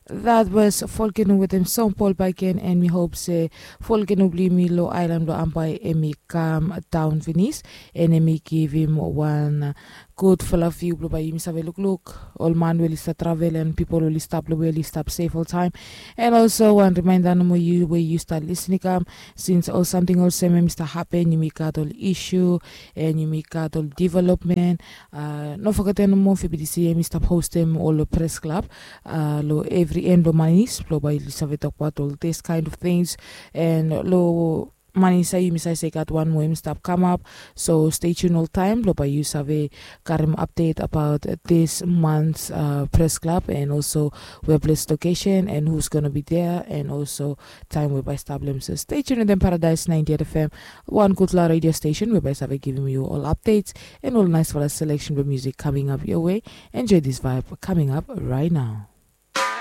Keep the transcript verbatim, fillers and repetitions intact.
That was volkeno wetem song pol baken, and mi hop se volkeno blong yumi long ailan blong ambai em i kam daun finis, and em i givim wan gudfala viu blong bai yumi save lukluk ol man we oli stap travel and pipol we oli stap long we oli stap sef oltaim. And also wan rimainda nomo yu we yu stap lisin i kam, sins ol samting olsem em i stap hapen, yumi gat ol isu, and yumi gat ol development. Uh, no fogetem nomo fibidisi em i stap hostem ol pres klab uh, long evri en blong manis blong bai yu save tokbaot ol this kind of things. And long manis ya yumi save se gat wan moa em i stap kamap. So stay tune oltaim blong bai yu save karim update about this month's uh, press club and also where place location and who's gonna be there and also time we bai stap lem. So stay tuned with them Paradise ninety-eight F M, one gudfala radio station we bai save givim you all updates and all nice fala selection with music coming up your way. Enjoy this vibe coming up right now.